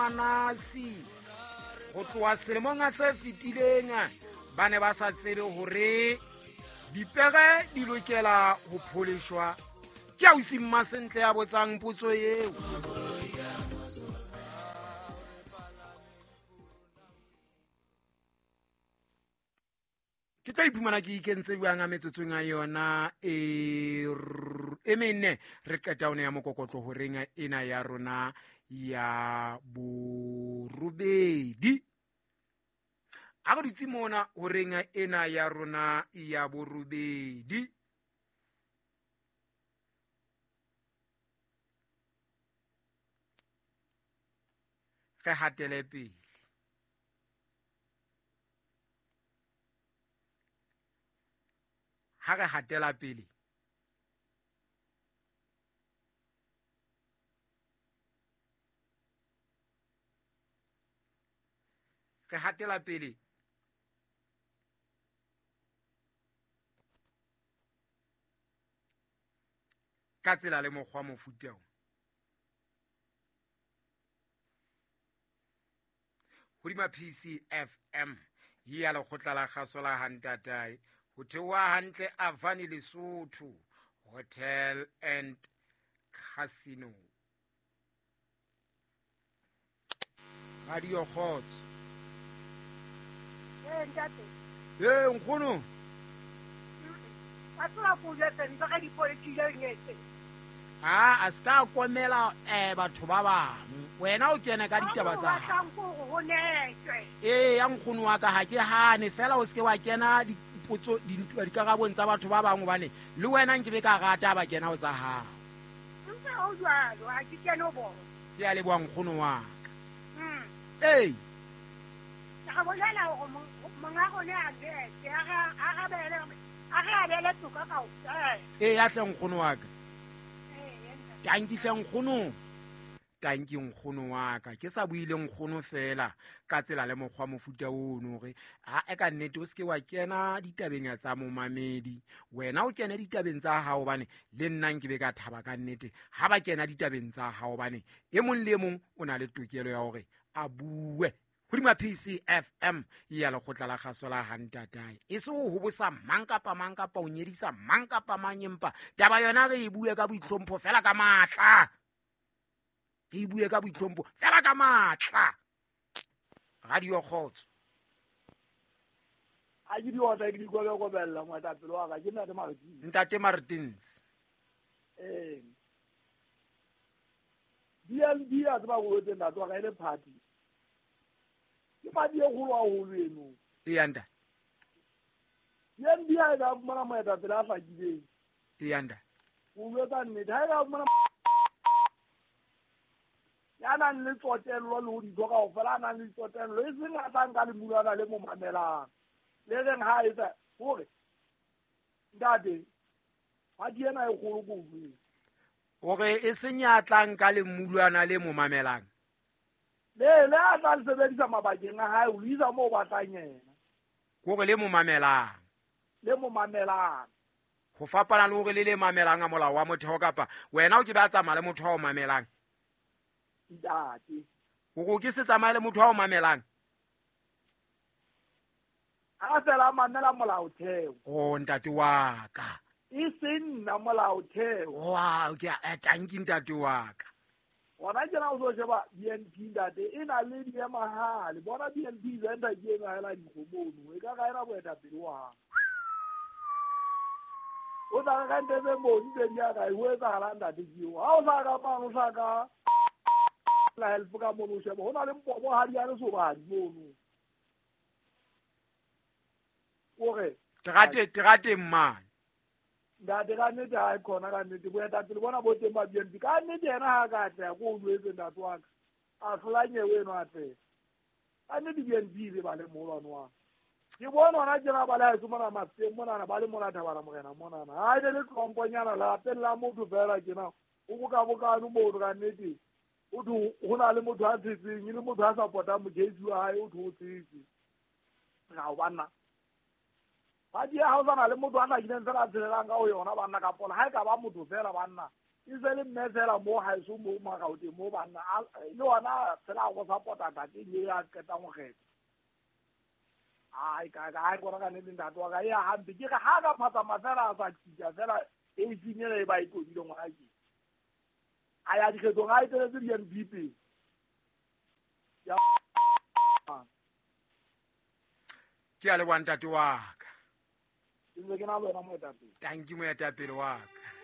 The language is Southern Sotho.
Manasi go tloa selemong a se fetileng ba ne ba sa tsebe hore dipere di lokela ho pholeshwa. Ke ausi Mmasentle ya botsang potso eo. Ke tlo iphumana ke ikentse jwang a metsotsong a yona e mene re qeta one ya mokokotlo horeng ena ya rona ya borobedi. A re dutse mona horeng ena ya rona ya borobedi. Re hatele pele. Ha re hatela pele re hatela pele ka tsela le mokgwa mofuta o. Hodima PCFM ya lekgotla la kgaso la Hantatae ho theoha hantle Avani Lesotho Hotel and Casino. Radio Kgotso. Ntate. Nkgono. Ba tsela go jetse ntse ga dipolitiki ngetse. A ska komela batho ba bang. Wena o kene ka ditaba tsa hao. Ya nkgono wa ka ha ke hane fela o seke wa kena dipotso dikarabong tsa batho ba bang hobane le wena nke be ka rata ba kena ho tsa hao. Ntse o jwalo ha ke kene ho bona. Ke a leboha nkgono wa ka. Ee. Ke bolela hore monga rona a ngetse a re abele toka kaofela. Ya hle nkgono wa ka. Tanki hle nkgono. Tanki nkgono wa ka. Ke sa buile nkgono fela ka tsela le mokgwa mofuta ono hore ha e ka nnete o seke wa kena ditabeng tsa momamedi. Wena o kene ditabeng tsa hao hobane le nna nke be ka thaba ka nnete ha ba kena ditabeng tsa hao hobane e mong le e mong o na le tokelo ya hore a bue. Hodima PCFM ya lekgotla la kgaso la Hantatae. E se ho hobosa mang kapa mang kapa o nyedisa mang kapa mang, empa taba yona re e bue ka boitlhompho fela ka matla. Re bue ka boitlhompho fela ka matla. Radio Kgotso. A ke di otla ke di kobekobella moetapele wa ka ke Ntate Martins. Ntate Martins. BNB a tseba go etse ntate wa ka e le party. Ke party e kgolo haholo eno. Eya ntate. BNB ha e ka fumana moetapele a hlakileng. Eya ntate. O bua nnete ha e ka fumana ya nang le tsotello le ho ditho kaofela, a nang le tsotello e seng a tlang ka lemulwana le mo mamelang le reng ha etsa hore ntate party ena e kgolo ko utlweng. Hore e seng ya tlang ka lemulwana le mo mamelang. Le a tla le sebedisa mabakeng a hae o isa moo batlang yena. Hore le mo mamelang. Le mo mamelang. Ho fapana le hore le le mamelang a molao wa motheo kapa wena o ke ba tsamaya le motho wa o mamelang. Ntate. Hore o ke se tsamaye le motho wa o mamelang. Ha fela mamela molaotheo. Oh ntate wa ka. E seng nna molaotheo. Wow, ke a tanki ntate wa ka. Hona tjena o so sheba BNP ntate e na le diemahale. Bona BNP zenda ke ena hela dikgomo e ka ga ena boetapele wa. O tla ka ntse mo di tse di ka e ho etsahala ntate ke eo. Ha o sa ka mang o sa ka la help ka mono sheba ho na le mpobo ha di a le sobadi mono. Ore terate mmane. Ntate ka nnete ha e khona ka nnete boetapele bona bo teng ba BNP ka nnete yena ha ka atleha ko o jwetse ntate wa ka a hlola nyewe eno atleha ka nnete BNP e ba le moholwane wa ke bona hona tjena ba le haeso mona Mafeteng monana ba le mona Thabana Morena monana ha e le tlomponyana lapeng la motho fela tjena o bokabokane mono ka nnete o thwe ho na le motho a tshetseng e le motho a support-ang mokgesi wa hae o thwe o tshetse ga o banna. Ba di ha o sana le motho a hlakileng fela a tshelelang ka ho yona banna ka pola ha e ka ba motho fela banna e E se le mme fela mo haeso mo Magauteng mo banna le ona fela go support-a ntate e a qetang go kgetha. Ai ka ka ai kona ka nnete ntate wa ka e ya hampe. Ke re ha ka phatsama fela a sa tšitša fela e seng e ba e tobile ngwana ke. A ya dikgethong a eteletse BNP pele. Ya Ke a leboha ntate wa ka. Ke ntse ke na le wena moetapele. Tanki moetapele wa ka.